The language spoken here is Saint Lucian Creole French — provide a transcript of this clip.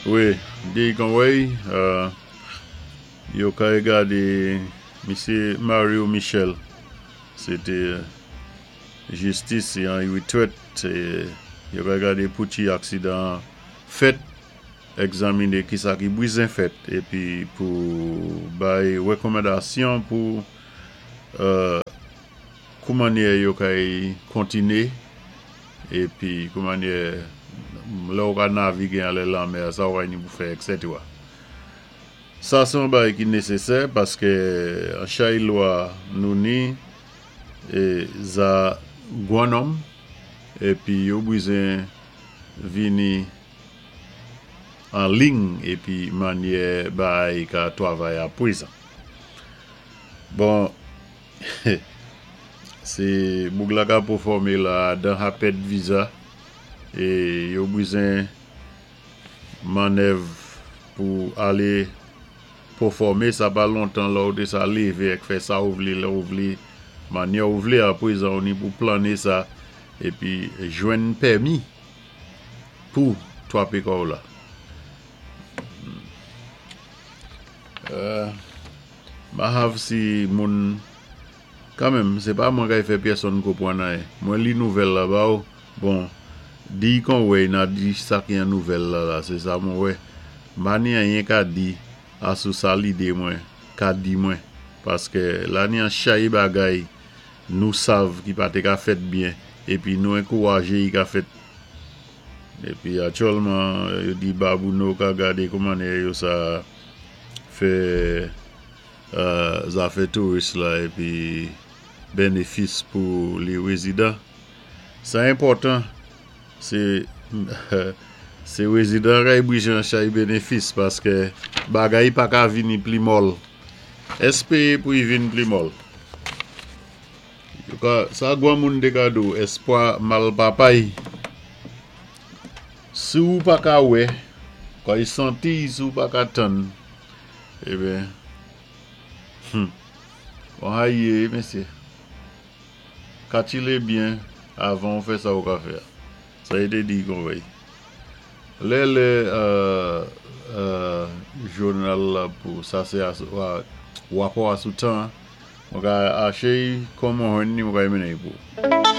Wi, di kon wèy, yo kay gadé misyé Mario Michel, sé té jistis an rétrèt, yo kay gadé pouti aksidan fèt, egzaminé ki sa ki bizen fèt, épi pou bay wékonmandasyon pou kou mannyè yo kay kontiné, épi kou mannyè lè ou ka navigé anlè lanmè, sa ou ni pou fè, etc. Sa sé yon bagay ki nésésè paské an chay lwa nou ni é za gwan nonm épi yo bizen vini an liy épi mannyè bagay ka twavay apwézan. Bon, sé boug la ka pèfòmé la dan apèd viza é yo bizen mannèv pou alé pèfòmé. Sa pa lontan la ou té sa lévé ek fè sa ou vlé, lè ou vlé, mannyè ou vlé. Apwézan ou ni pou planné sa épi jwenn pèmi pou twapé kò'w la. Ma hav si moun kanmenm, sé pa mwen kay fè pèsonn konpwann anyen. Mwen li nouvèl la ba ou, bon, di kon wèy na di sa ki an nouvèl la la, sé sa mwen wè. Ma ni anyen ka di asou sa lidé mwen, ka di mwen, paské la ni an chay bagay nou sav ki pa té ka fèt byen, épi nou ankouwajé yi ka fèt. Épi aktyèlman, yo di Babouno ka gadé kou mannyè yo sa fè zafè touris la épi bénéfis pou li wézidan. Sa enpòtan, sé wézidan kay bizen chay bénéfis paské bagay pa ka vini pli mòl. Èspéwé pou yi vin pli mòl. Sa gwan moun té ka di, èspwa mal papay. Si ou pa ka wè, kay santi, si ou pa ka tann, eben, on haye, mesyé. Katilé byen avan ou fè sa ou ka fè. Sa yi té di kon wèy. Lè lè jounal la pou sa sé wapò asou tan, mwen ka aché kòm mwen jwenn ni mwen ka mennen pou.